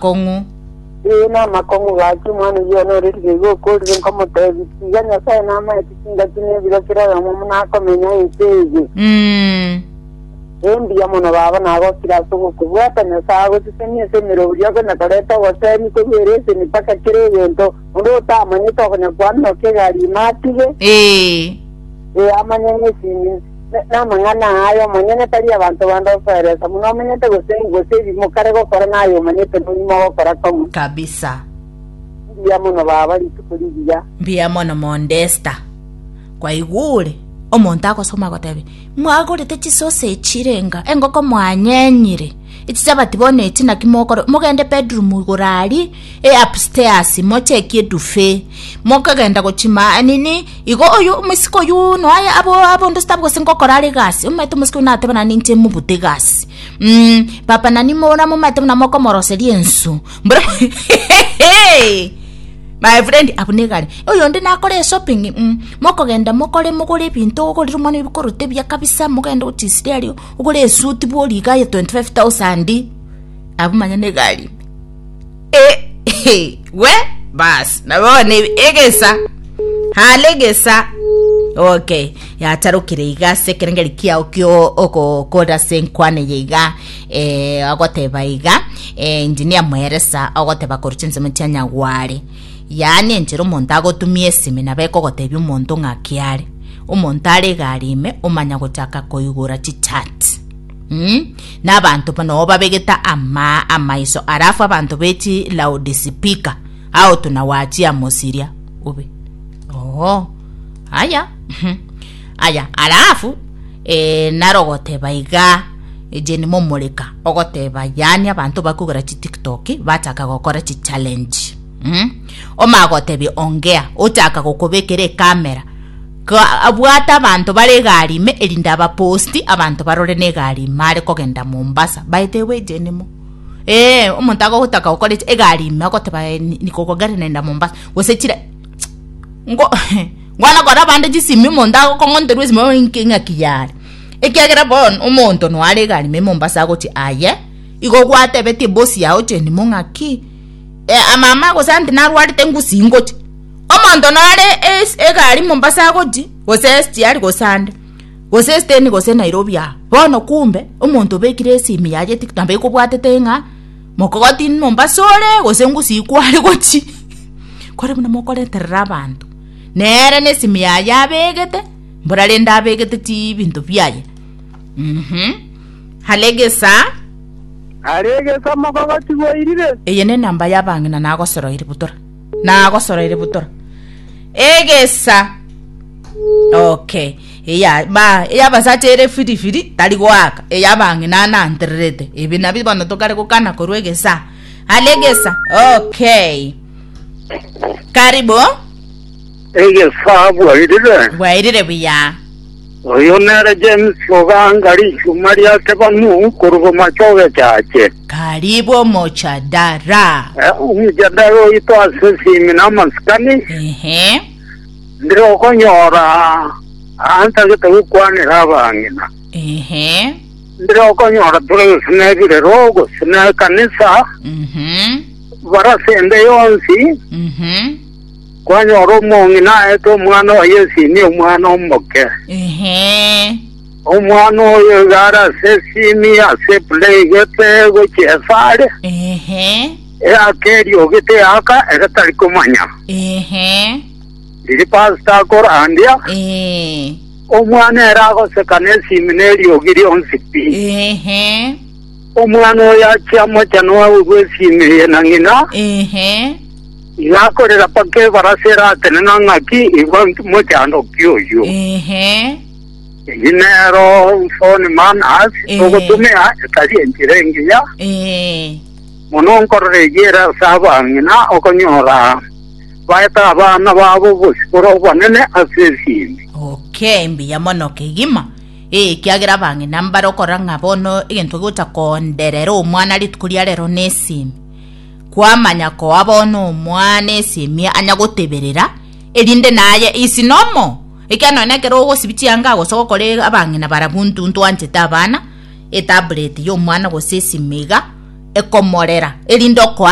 Kong'u. Ee, namakong'u gaki, omwana oyio one ore riga iga okorire, nkomotebia, Tiga Nyasae namaete chingaki na ebiro kera oyomo buna akomenya ense eye. Mm. Ee, mbuya mono baba, nagokire ase ogokobwata. Nyasae agosesenie ase emeroberi okonya koreta obosemi korwa ereseni mpaka kera egento onde otamanyete okonya kwamioka egari ime atige. Ee. Ee, amanye ng'a esimi namang'ana aya omonyene tari abanto bande osoeresa buna omenyete gose gose ebi mokare gokora naye omanyete nonya mogokora komo. Kabisa. Mbuya mono baba rituko rigiya. Mbuya mono Mondesta. Kwaigure omonto agosoma agotebia mwagorete chisosa echirenga engoko mwanyenyire echichabati bono echi naki mokora mogende bedroom igoro aria e upstairs mochekie edufe mokogenda gochima nini Igo oyo omoiseke oyio noe abo abonde sitabu gose ngokora are egasi, omanyete omosike oyio nateba naende inche mobute egasi mm papa nani mora momanyete buna mokomoroseria ensu mboro my friend abwo negari. Oyonde nakore eshopping mm mokogenda mokore mogore ebinto ogorere omwana oyo ebikoroto ebiya kabisa mogende gochisiria aria ogore esuti bori iga aye 25,000 abwo manya negari. Eh, we bas na bono egesa hale egesa okay yacharokire iga ase ekerengeri kiao kio ogokora ase enkwana eye iga eh, agoteba iga eh, engineer mweresa agoteba korwa chinsemo chia nyagware yaani enchera omonto agotumia esimi nabo ekogotebia omonto ng'aki are omonto are egari ime omanya gochaka koigora chichat Mm, na abanto noo babegete ama amaiso alafu abanto be chi loudspeaker ao tunawachia mosiria obe oo aya mhm. aya alafu eh, narogoteba iga Jane momoreka ogoteba yaani abanto bakogora chi tiktok bachaka gokora chi challenge mm? omagotebia ongea ochaka gokobekera ekamera Abwate abanto bare egari ime, erinde abaposti, abanto barore negari ime are kogenda Mombasa. By the way, Jenimo. Eh, omonto agotaka gokora echi egari ime agoteba eh, ni- niko gari naenda Mombasa. Gose chire ngo ngwana kora abande chisimi omonto agokong'onterwa esimi oh, inki ng'aki yare. Ekiagera bono omonto noare egari ime Mombasa agochia aye, igo gwatebetie ebosi yao Jenimo ng'aki eh, mama gose aunty narwarete ngusii ngochia. Omonto nare egari Mombasa agochi, gose SGR gose ande, gose Eastern gose Nairobi aa. Bono kumbe, omonto obekire esimi yaye TikTok nabo ekobwatete ng'a mokogoti Mombasa ore gose ngusii kware gochi. Kore buna mokoreterera abanto, nere na esimi yaye abegete, mbora rende abegete chibinto biaye mh. Hare egesa. Are egesa mokogoti bwairire. Eye nenamba y'abang'ina nagosoroire butora. Nagosoroire butora. Egesa. Okay. Eya ba eyabasacha ere firi firi tari goaka. Eyabang'ina anantererete. Ebi nabi bono tokare gokana korwa egesa. Ale egesa. Okay. Karibu. Egesa bwairire. Bwairire buya. Oyo nere James Oganga richuma ria Kebanu korwa Bomachoge Chache. Karibu omochadara. Eh, Omojadara oito ase esimi na amasikani Ehe. ndire okonyora antagete gokwanera abang'ina Ehe. ndire okonyora tore gose na ebirero gose na ekanisa Mhm. barase ende yonsi Mhm. Kwanyora omong'ina aete omwana oye esimi, omwana omoke. Ehe. Omwana oyo iga are ase esimi, ase eplay gete gochia esare, Ehe. eaka eriogi teaka, ere tari komanya. Ehe. Riria pastor akorandia, Eh. omwana ere agoseka nesimi neriogi rionsi pi. Ehe. Omwana oyo achia mochano aigwe esimi eye na ng'ina, Ehe. Iga akorera mpaka ebarasa eratenena ng'aki igwa mochando ki oyio. Ehe. Eyio nero phone manners Eh. togotumia etari enchera engiya Eh. mono nkorora eyio ere ase abang'ina okonyora baete abana babo obosibore obonene ase esimi. Okay, mbuya mono kegima. Eh, ekiagera abang'ina mbare okorora ng'a bono egento gegocha konderera omwana rituko ria rero nesimi. Kwamanya koa bono omwana esemi anya goteberera, erinde naye is normal. Ekiagera nonya nekero ogosibia chianga gose ogokora abang'ina barabwo intwe ntwanchete abana, etablet ya omwana gose esimi iga, Ekomorera, erinde okoa.